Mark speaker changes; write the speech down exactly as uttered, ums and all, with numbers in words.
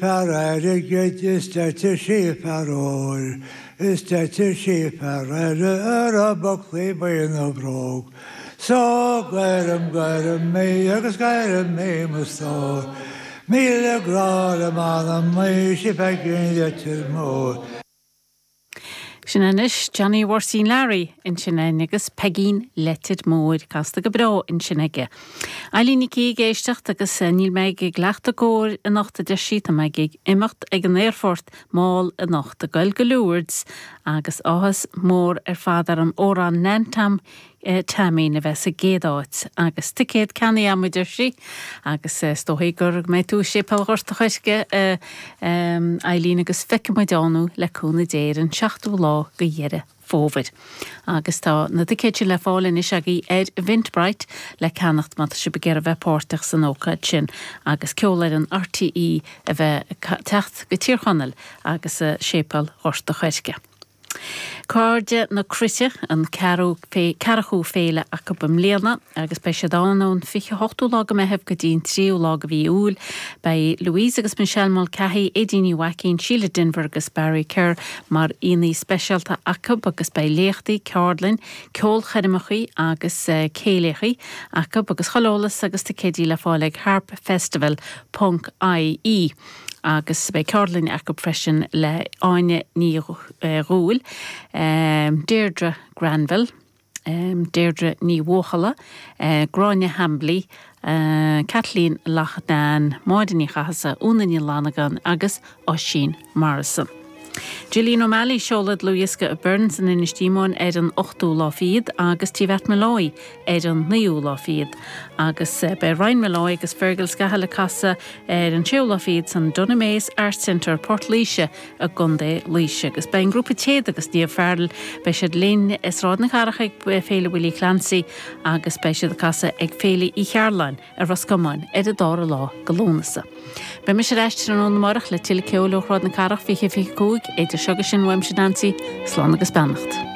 Speaker 1: Fear airgid is deirtear sí fear óir, is deirtear sí fear ar a bhaclaí buí na bróg. So gairim gairim mé agus gairim mé mo stór. Míle grá le m'anam í sí Peigín Leitir Móir.
Speaker 2: Sin anois Johnny Mháirtín Larry ansin agus Peigín Leitir Móir casta go breá ansin aige. Eileen Nic ag éisteacht agus níl mé ag leacht gcóir anocht a deir sí tá mé ag imeacht ag an aerfort mall anocht ag goil go Lourdes agus áthas mór ar fad ar an amhrán Nan Tom Taimín a bheith sa gcéad áit agus ticéad ceannaithe agam a deir sí agus is dóigh gur mé tú Séipéal Ghort an Choirce Eileen agus feicfimid ann le cúnamh Dé ar an seachtú lá de Dheireadh Fómhair. Agus tá na ticéid sin le fáil anois agaibh ar Eventbrite le ceannacht má tá sibh ag iarraidh bheith páirteach san ócáid sin agus ceolfhoireann RTÉ a bheith teacht go Tír Chonaill agus Séipéal Ghort an Choirce. Cairde na Cruite an ceathrú féile acu i mbliana agus beidh siad ann ón fiche hochtú lá de Mheitheamh go dtí an tríú lá de mhí Iúil. Beidh Louise agus Michelle Mulcahy, Aideen Ní Mhaicín, Sheila Denver agus Barry Kerr mar aíonna speisialta acu agus beidh léachtaí ceardlanna, ceolchoirmeacha agus céilí acu agus chuile eolas agus ticéidí le fáil ag harpfestival.ie. agus beidh ceardlann acu freisin le Áine Ní Dhúill, um, Deirdre Granville, um, Deirdre Ní Bhuachalla, uh, Gráinne Hambly, uh, Kathleen Loughnane, Máire Ní Chathasaigh, Úna Ní Fhlannagáin agus Oisín Morrison. Gillian O'Malley seoladh dlúthdhiosca Burns in Inis Díomóin ar an ochtú lá fichead agus Tí Mhatt Molloy ar an naoú lá fichead. Agus beidh Ryan Molloy agus Fergal Scahill ag casadh ar an séú lá fichead san Dunamaise Arts Centre Port Laoise i gContae Laoise. agus beidh an grúpa Téad agus Niamh Farrell beidh siad linn i Sráid na Cathrach ag Féile Willie Clancy agus beidh siad ag casadh ag Féile Uí Chearláin ar Ros Comáin ar an dara lá de Lúnasa. Beidh mise ar ais amárach le tuilleadh ceoil ó Shráid na Cathrach fiche fiche cúig idir seo sin uaimse Nancy, slán agus beannacht.